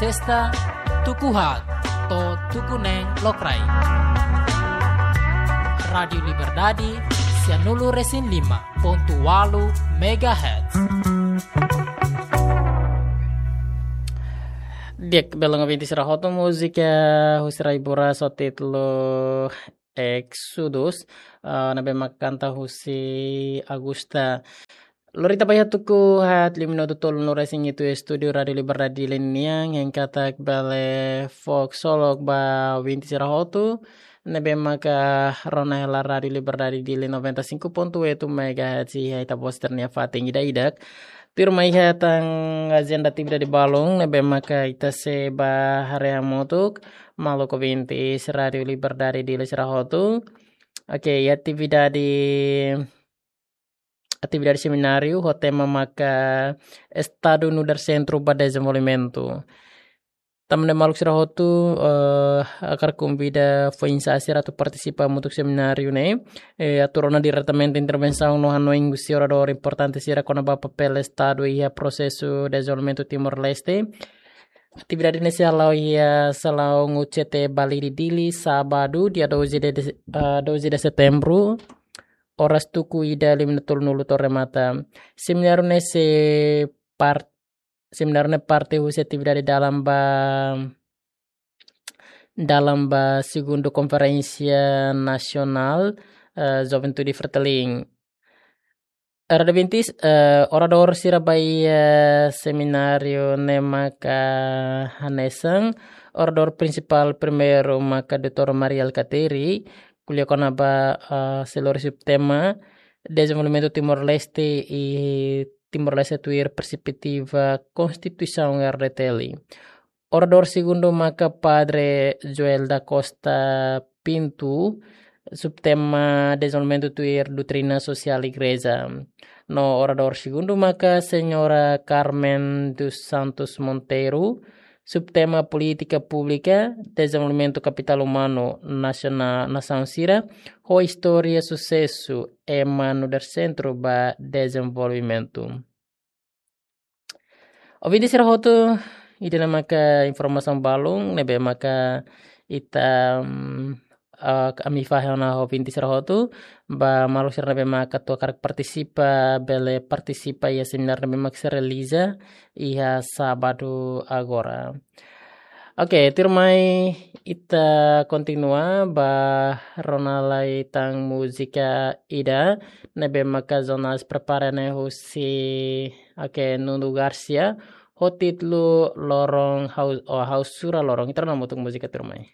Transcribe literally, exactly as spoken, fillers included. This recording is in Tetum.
Sesta, tuku haat to'o tuku neen lokraik. Rádiu Liberdade, sianulu-resin-lima pontu ualu megahertz. Di'ak, belun ouvinte sira hotu, múzika husi Rai Buras ho títulu Exodus, ah, ne'ebé mak kanta husi Augusta. Lori ita ba iha tuku haat liu minutu tolunulu-resin-hitu estúdiu Rádiu Liberdade Dili nian, hein katak bele fó ksolok ba ouvinte sira hotu ne'ebé maka rona hela Rádiu Liberdade Dili noventa e cinco ponto oito megahertz iha ita-boot sira-nia fatin ida-idak. Tuirmai iha tan ajenda atividade balun ne'ebé maka ita sei ba haree hamutuk, maluk ouvintes Rádiu Liberdade Dili sira hotu. Oke, iha atividade, atividade semináriu ho tema maka Estadu nu'udar sentru ba dezenvolvimentu. Tanba ne'e maluk sira hotu, eh, hakarak konvida foin-sa'e sira atu partisipa hamutuk semináriu ne'e. Eh, atu rona diretamente intervensaun no hanoin husi oradór importante sira kona-ba papél Estadu iha prosesu dezenvolvimentu Timor-Leste. Atividade ne'e sei hala'o iha salaun U C T Balide Dili, sábadu, dia doze de, de, ah, doze de setembro, oras tuku ida liu minutu tolunulu to'o remata. Semináriu ne'e sei par-, semináriu ne'e parte husi atividade dalan ba, dalan ba segundu Konferénsia Nasionál, eh, Juventude Fretilin. Rádiu ouvinte, eh, oradór sira ba iha, eh, semináriu ne'e maka hanesan, oradór prinsipál primeiru maka doutór Mari Alkatiri, ko'alia kona-ba, eh, sei lori subtema Dezenvolvimentu Timor-Leste i Timor-Leste tuir perspetiva Konstituisaun R D T L. Oradór segundu maka Padre Joel da Costa Pinto, subtema Dezenvolvimentu tuir Doutrina Sosiál Igreja. No oradór segundu maka Señora Carmen dos Santos Monteiro, subtema Polítika Públika Dezenvolvimentu Kapitál Umanu Nasiona-, Nasaun Sira, ho Istória Susesu ema nu'udar sentru ba dezenvolvimentu. Ouvinte sira hotu, ida-ne'e maka informasaun balun ne'ebé maka ita, mm, ah, ami fahe ona ho ouvinte sira hotu, ba maluk sira ne'ebé maka atu hakarak partisipa, bele partisipa iha semináriu ne'ebé maka sei realiza iha sábadu agora. Oke, tuirmai ita kontinua ba rona lai tan múzika ida ne'ebé maka Jonas prepara ne'e husi, oke, Nuno Garcia, ho títulu Loron Hau-, oh, Ha'u Sura Loron. Ita rona hamutuk múzika tuirmai.